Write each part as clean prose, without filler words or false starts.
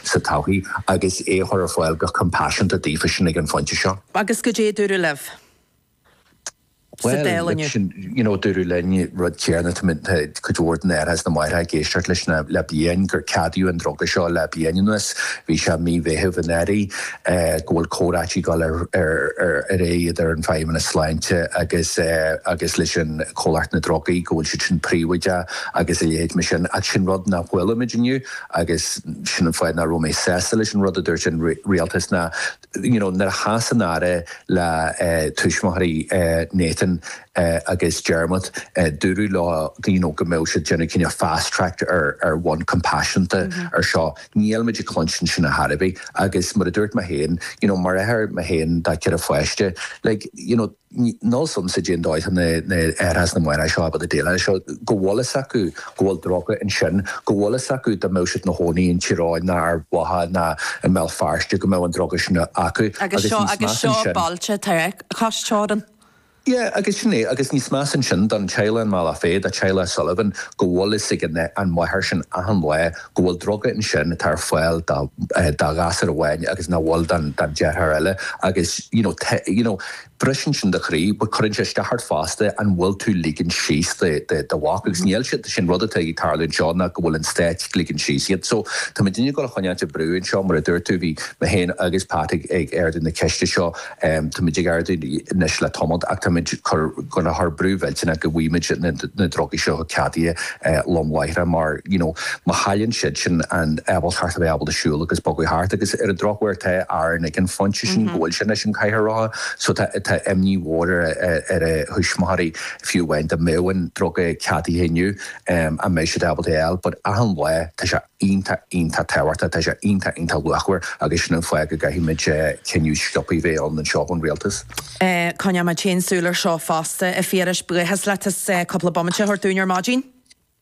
sa todhchaí agus é a chur ar fáil go compassionta daofa sin ag an phointe seo. Agus goidé a dúradh libh sa Bhuel, Dáil look, inniu? sin, you know, dúradh linn rud céanna, tá muid, tá cuid mhór de na haithreacha is na máithreacha ag éisteacht leis na, le bliain, gur ceadaíodh an druga seo le bliain anuas, bhí sé mí Mheithimh anuraidh, go bhfuil comhráití ag dul ar, ar, ar, ar aghaidh idir an Feidhmeannas Sláinte agus, agus leis an Comhlacht na Drugaí, go bhfuil siad sin príobháideach agus a leithéid mar sin. Ach sin rud nach bhfuilimid inniu agus sin an fáth nach raibh mé sásta leis an rud a dúirt an rialtas ná, you know, nuair a chas an Aire le tuismitheoirí Nathan agus Dermot, dúradh leo, you know, go mbeadh siad déanamh cineál fast track ar ar bhonn compassionta ar seo. Níl muid ag cluinstin sin ar chor ar bith agus mar a dúirt mé féin, you know, mar athair mé féin do cheithre pháiste, like, you know, Níl fhios a'msa cén dóigh atá na haithreacha is na máithreacha seo ábalta déileáil leis seo, go bhfuil fhios acu go bhfuil druga ansin, go bhfuil fhios acu dá mbeadh siad ina chónaí in Tír Eoghain ná Ard Mhacha ná i mBéal Feirste go mbeadh an druga sin acu. Agus Agus seo níos agus measa seo ansin. bailte atá cois teorann. Yeah, agus sin é, agus níos measa ansin don teaghlach i mBealach Féich, do teaghlach Sullivan, go bhfuil fhios ag an máthair sin achan lá go bhfuil druga ansin atá ar fáil do ghasúr amháin agus nach bhfuil don deartháir eile agus you know you know briseann sin do chroí but cuireann sé isteach ort fosta an bhfuil tú ligean síos do do mhac agus níl siad sin rud atá ag tarlú anseo ná go bhfuil an stát ag ligean síos iad so tá muidinne ag dul a choinneáilt ag brú anseo mar a dúirt tú bhí mé féin agus Pat ag ag ardú na ceiste seo Táimid ag ardú anois le tamall ach táimid ag dul a chur brú mhillteanach go bhfaighimid na drugaí seo ceadaithe lom láithreach mar you know má chailleann siad sin an ábaltacht a bheith ábalta siúl agus bogadh thart agus ar an drochuair tá Aaron ag an phointe sin go bhfuil sé anois in cathaoir rotha so tá tá imní mhór ar ar a thuismitheoirí fiú amháin dá mbeadh an druga ceadaithe inniu an mbeidh siad ábalta é a fháil but achan lá tá sé iontach, iontach tábhachtach, tá sé iontach, iontach luachmhar agus sin an fáth go gcaithfimid cinneadh sciobtha a bheith ann anseo ón rialtas. Coinneoidh muid féin súil ar seo fosta, a Phiarais. Buíochas leat as cúpla bomaite a thabhairt dúinn ar maidin.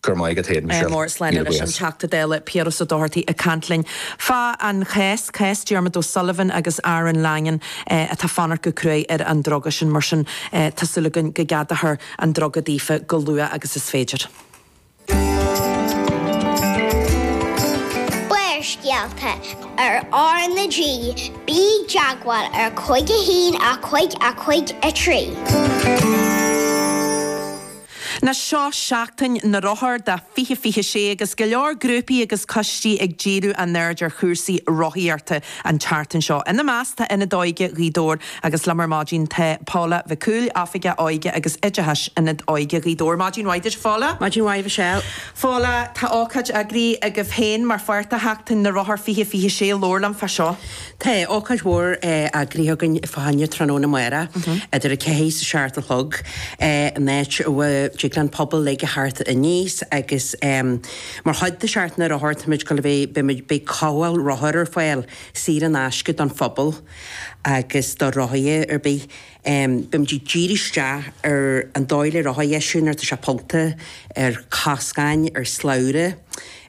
Go raibh maith agat féin, Michelle. Mór, slán Míle anois an buíochas. Teachta Dála Piaras Ó Dochartaigh ag caint linn fá an chás, cás Diarmuid O'Sullivan agus Aaron Langan atá fanacht go cruaidh ar an druga sin. Mar sin tá súil againn go gceadófar an druga daofa go luath agus is féidir. Barrscéalta ar R na G, bí i dteagmháil ar 5 1 5 5 3. Anois seo Seachtain na Rothar do 2026 agus go leor grúpaí agus coistí ag díriú a n-aird ar chúrsaí rothaíochta an tseachtain seo. Ina measc tá Ionad Óige Ghaoth Dobhair agus liom ar maidin tá Paula Mhic Cumhaill, Oifigeach Óige agus Oideachais Ionad Óige Ghaoth Dobhair. Maidin mhaith duit, a Phaula. Maidin mhaith, Michelle. Phaula, tá ócáid eagraithe agaibh féin mar pháirt de Sheachtain na Rothar 2026. Labhair liom fá seo. Tá ócáid mhór eagraithe againn fá choinne tráthnóna amárach idir a 4 is a 7 a chlog in áit a dtig leis an pobal uilig a theacht aníos agus mar chuid de Sheachtain na Rothar táimid ag dul a bheith, beimid, beidh cothabháil rothar ar fáil saor in aisce don phobal agus do rothaithe ar bith. Beimid ag díriú isteach ar an dóigh le rothar a dheisiú nuair atá sé pollta, ar choscáin, ar shlabhra,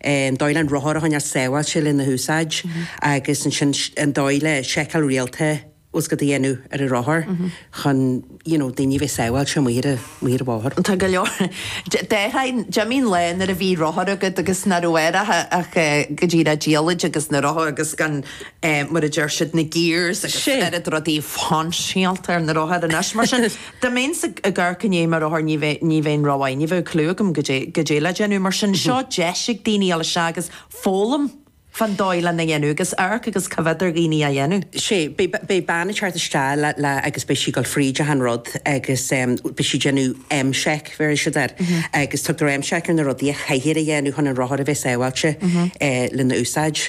an dóigh le an rothar a choinneáil sábháilte lena húsáid agus ansin an dóigh le seiceáil rialta bhfuil a fhios agat a dhéanamh ar an rothar chun you know daoine a bheith sábháilte amuigh ar amuigh ar an bhóthar. Tá go leor. Déarfainn, d'imigh an lá nuair a bhí rothar agat agus nach raibh air ach go díreach diallaid agus na rothair agus gan mar a deir siad, na gears agus oiread rudaí fainseálta ar na rothair anois. Mar sin, dá mbeinnse ag amharc i ndiaidh mo rothar ní bheinn rómhaith, ní bheadh clue agam goidé le déanamh. Mar sin, seo deis ag daoine dul isteach agus foghlaim fán dóigh lena dhéanamh agus amharc agus coimhéad ar dhaoine á dhéanamh. Sea, beidh bean ag teacht isteach le agus beidh sí ag dul fríd achan rud agus beidh sí ag déanamh M-check, bhéarfaidh siad air, agus tugtar M-check ar na rudaí a chaithfear a dhéanamh chun an rothar a bheith sábháilte lena úsáid.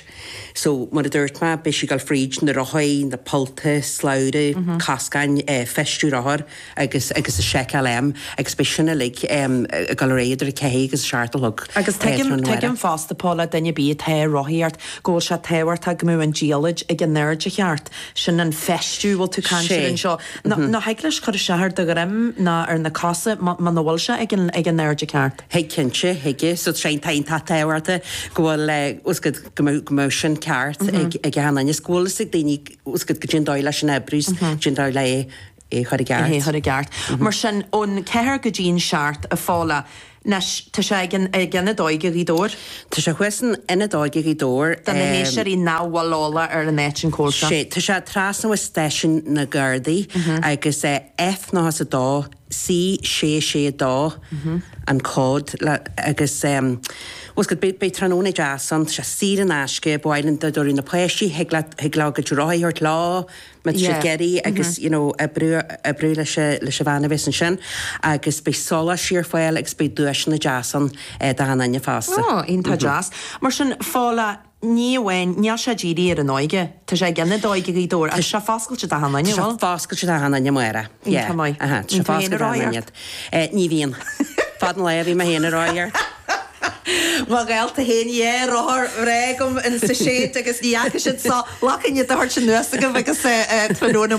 So, mar a dúirt mé, beidh sí ag dul fríd na rothaí, na pollta, slabhra, coscáin, feistiú rothar agus agus an seiceáil M agus beidh sin uilig ag dul ar aghaidh idir 4 agus 7 a chlog Agus tuigim, tráthnóna. tuigim fosta, Paula, duine ar bith atá ag rothaíocht, go bhfuil sé tábhachtach go mbeadh an diallaid ag an airde cheart. Sin an feistiú a bhfuil tú ag caint air Sé. anseo. Ná thig leis cur isteach ar do dhroim ná ar na cosa muna bhfuil sé ag an ag an airde ceart. Thig cinnte, thig. So tá sé iontach tábhachtach go bhfuil bhfuil a fhios agat go mbeadh go mbeadh sin ceart ag ag achan duine is go bhfuil fhios ag daoine bhfuil a fhios agat goidé an dóigh leis an oibriú is goidé an dóigh le é é chur i gceart. É chur i gceart. Mar sin, ón ceathair go dtí an seacht, a Phaula. Anois, tá sé ag an ag Ionad Óige Ghaoth Dobhair. Tá sé thuas in Ionad Óige Ghaoth Dobhair. Do na héisteoirí nach bhfuil eolach ar an áit an cóir seo. Sé, tá sé trasna ó Stáisiún na Gardaí agus F 92 C 6 6 2 an cód le agus bhfuil 's agat, beidh beidh tráthnóna deas ann, tá sé saor in aisce, ba mhaith linn dá dtabharfadh na páistí, thig leat, thig leo a gcuid rothaí a thabhairt leo, má tá siad ag iarraidh agus you know oibriú oibriú leis a leis an bhean a bheas ansin agus beidh sóláistí ar fáil agus beidh duaiseanna deas ann d'achan duine fosta. Ó, iontach deas. Mar sin, Fódhla, ní amháin, níl sé dírithe ar an óige, tá sé ag Ionad Óige Ghaoth Dobhair ach tá sé foscailte d'achan duine, Tá sé bhfuil? foscailte d'achan duine, Máire. Iontach maith. Aha, tá sé Bíonn tú féin foscailte ag d'achan rothaíocht? duine. Ní bhíonn. Fad an lae a bhí mé féin ag rothaíocht. Mo ghaolta féin, dhá rothar bhreá agam in sa seid agus ní fhaca siad so lachain iad a thabhairt anuas agaibh agus tráthnóna.